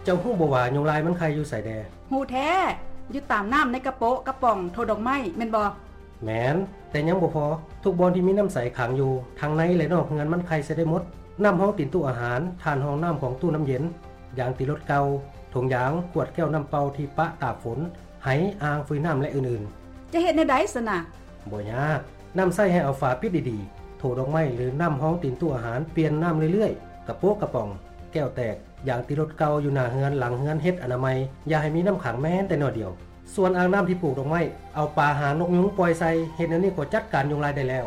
ເຈົ້າຮູ້ບໍ່ວ່າຍຸງລາຍມັນໄຂ່ຢູ່ໃສແດ່? ຮູ້ແທ້! ຢູ່ຕາມນ້ຳໃນກະໂປະກະປ໋ອງ ໂຖດອກໄມ້ ແມ່ນບໍ່? ແມ່ນ, ແຕ່ຍັງບໍ່ພໍ. ທຸກບ່ອນທີ່ມີນ້ຳໃສຂັງຢູ່ ທັງໃນ ແລະ ນອກເຮືອນ ມັນໄຂ່ໃສ່ໄດ້ໝົດ. ນ້ຳຮອງຕີນຕູ້ອາຫານ, ຖ່ານຮອງນ້ຳຂອງຕູ້ນ້ຳເຢັນ, ຢາງຕີລົດເກົ່າ, ຖົງຢາງ, ຂວດແກ້ວນ້ຳເປົ່າທີ່ປະຕາກຝົນ, ໄຫ, ອ່າງຟືນນ້ຳ ແລະ ອື່ນໆ. ຈະເຮັດແນວໃດຊັ້ນນະ? ບໍ່ຍາກ. ນ້ຳໃຊ້ໃຫ້ເອົາຝາປິດດີໆ. ໂຖດອກໄມ້ ຫຼື ນ້ຳຮອງຕີນຕູ້ອາຫານ ປ່ຽນນ້ຳເລື້ອຍໆ. ກະໂປະກະປ໋ອງ, ແກ້ວແຕກ, ຢາງຕີລົດເກົ່າຢູ່ໜ້າເຮືອນ, ຫຼັງເຮືອນ, ເຮັດອະນາໄມ. ຢ່າໃຫ້ມີນ້ຳຂັງແມ້ແຕ່ໜ້ອຍດຽວ. ສ່ວນອ່າງນ້ຳທີ່ປູກດອກໄມ້, ເອົາປາຫານົກຍຸງປ່ອຍໃສ່. ເຮັດແນວນີ້ກໍຈັດການຍຸງລາຍໄດ້ແລ້ວ.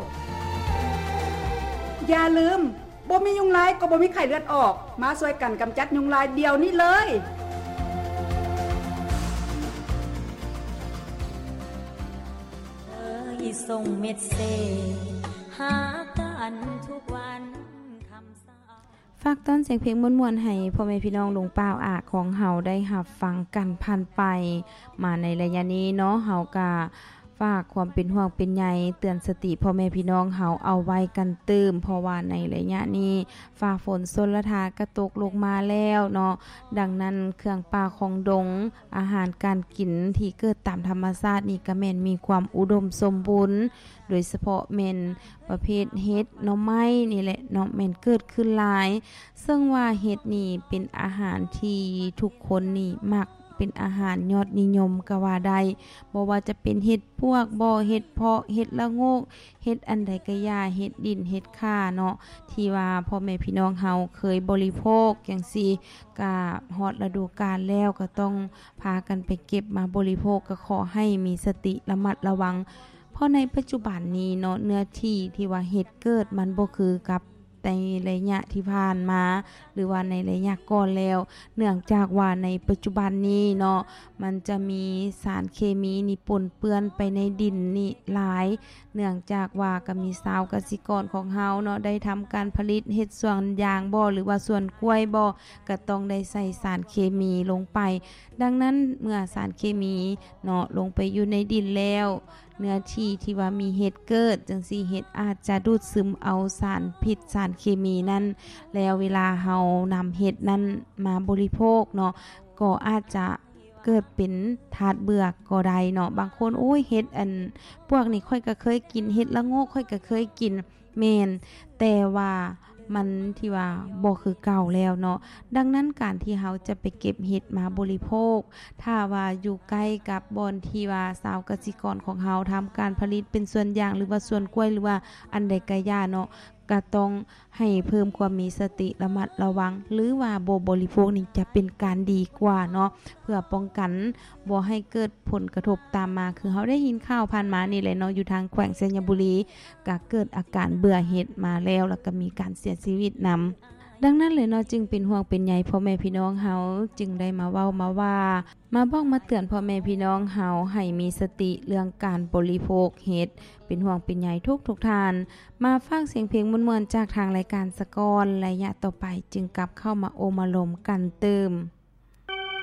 ຢ່າລືມ, ບໍ່ມີຍຸງລາຍກໍບໍ່ມີໄຂ້ເລືອດອອກ. ມາຊ່ວຍກັນກຳຈັດຍຸງລາຍດຽວນີ້ເລີຍ. ສົ່ງເມັດເສດຫາກັນທຸກວັນຄ່ຳເຊົ້າ. ຝາກຕ້ອນສຽງເພງມ່ວນໆ ໃຫ້ພໍ່ແມ່ພີ່ນ້ອງລຸງປ້າອາຂອງເຮົາໄດ້ຮັບຟັງກັນຜ່ານໄປ. ມາໃນໄລຍະນີ້ເນາະ, ເຮົາກະຝາກຄວາມເປັນຫ່ວງເປັນໃຍ, ເຕືອນສະຕິພໍ່ແມ່ພີ່ນ້ອງເຮົາເອົາໄວ້ກັນຕື່ມ, ເພາະວ່າໃນໄລຍະນີ້ ຟ້າຝົນຊົນລະທາກະຕົກລົງມາແລ້ວເນາະ. ດັ່ງນັ້ນ ເຄື່ອງປ່າຂອງດົງ, ອາຫານການກິນທີ່ເກີດຕາມທຳມະຊາດນີ້ກະແມ່ນມີຄວາມອຸດົມສົມບູນ, ໂດຍສະເພາະແມ່ນປະເພດເຫັດ, ໜໍ່ໄມ້ນີ້ແຫຼະເນາະ, ແມ່ນເກີດຂຶ້ນຫຼາຍ. ເຊິ່ງວ່າເຫັດນີ້ເປັນອາຫານທີ່ທຸກຄົນນີ້ມັກ, ເປັນອາຫານຍອດນິຍົມກະວ່າໄດ້. ບໍ່ວ່າຈະເປັນເຫັດປວກບໍ, ເຫັດເພາະ, ເຫັດລະໂງກ, ເຫັດອັນໃດກະຢ່າ, ເຫັດດິນ, ເຫັດຂ່າເນາະ, ທີ່ວ່າພໍ່ແມ່ພີ່ນ້ອງເຮົາເຄີຍບໍລິໂພກຈັ່ງຊີ້, ກະຮອດລະດູການແລ້ວ ກະຕ້ອງພາກັນໄປເກັບມາບໍລິໂພກ, ກະຂໍໃຫ້ມີສະຕິລະມັດລະວັງ. ເພາະໃນປັດຈຸບັນນີ້ເນາະ, ເນື້ອທີ່ທີ່ວ່າເຫັດເກີດມັນບໍ່ຄືກັບໃນໄລຍະທີ່ຜ່ານມາ ຫຼືວ່າໃນໄລຍະກ່ອນແລ້ວ, ເນື່ອງຈາກວ່າໃນປັດຈຸບັນນີ້ເນາະ, ມັນຈະມີສານເຄມີນີ້ປົນເປື້ອນໄປໃນດິນນີ້ຫຼາຍ. ເນື່ອງຈາກວ່າກະມີຊາວກະສິກອນຂອງເຮົາເນາະ ໄດ້ທຳການຜະລິດເຮັດສວນຢາງບໍ ຫຼືວ່າສວນກ້ວຍບໍ ກະຕ້ອງໄດ້ໃສ່ສານເຄມີລົງໄປ. ດັ່ງນັ້ນ ເມື່ອສານເຄມີເນາະ ລົງໄປຢູ່ໃນດິນແລ້ວ ເນື້ອທີ່ທີ່ວ່າມີເຫັດເກີດຈັ່ງຊີ້ ເຫັດອາດຈະດູດຊຶມເອົາສານພິດ ສານເຄມີນັ້ນ ແລ້ວເວລາເຮົານຳເຫັດນັ້ນມາບໍລິໂພກເນາະ ກໍອາດຈະ ເກີດເປັນທາດເບື່ອກໍໄດ້ເນາະ. ບາງຄົນ ໂອ້ຍ ເຫັດອັນພວກນີ້ຂ້ອຍກະເຄີຍກິນ, ເຫັດລະໂງກຂ້ອຍກະເຄີຍກິນ. ແມ່ນ, ແຕ່ວ່າມັນທີ່ວ່າບໍ່ຄືເກົ່າແລ້ວເນາະ. ດັ່ງນັ້ນ ການທີ່ເຮົາຈະໄປເກັບເຫັດມາບໍລິໂພກ ຖ້າວ່າຢູ່ໃກ້ກັບບ່ອນທີ່ວ່າຊາວກະສິກອນຂອງເຮົາທຳການຜະລິດເປັນສວນຢາງ ຫຼືວ່າສວນກ້ວຍ ຫຼືວ່າອັນໃດກະຢ່າເນາະ, ກະຕ້ອງໃຫ້ເພີ່ມຄວາມມີສະຕິລະມັດລະວັງ ຫຼືວ່າບໍ່ບໍລິໂພກນີ້ຈະເປັນການດີກວ່າເນາະ ເພື່ອປ້ອງກັນບໍ່ໃຫ້ເກີດຜົນກະທົບຕາມມາ. ຄືເຮົາໄດ້ຍິນຂ່າວຜ່ານມານີ້ແຫຼະເນາະ ຢູ່ທາງແຂວງໄຊຍະບູລີ ກະເກີດອາການເບື່ອເຫັດມາແລ້ວ ແລ້ວກະມີການເສຍຊີວິດນຳ. ດັ່ງນັ້ນແຫຼະເນາະ ຈຶ່ງເປັນຫ່ວງເປັນໃຍພໍ່ແມ່ພີ່ນ້ອງເຮົາ ຈຶ່ງໄດ້ມາເວົ້າມາວ່າ ມາບອກມາເຕືອນພໍ່ແມ່ພີ່ນ້ອງເຮົາໃຫ້ມີສະຕິເລື່ອງການບໍລິໂພກເຫັດ. ເປັນຫ່ວງເປັນໃຍທຸກໆທ່ານ. ມາຝາກສຽງເພງມ່ວນໆຈາກທາງລາຍການສາກ່ອນ, ໄລຍະຕໍ່ໄປຈຶ່ງກັບເຂົ້າມາໂອ້ມາລົມກັນຕື່ມ.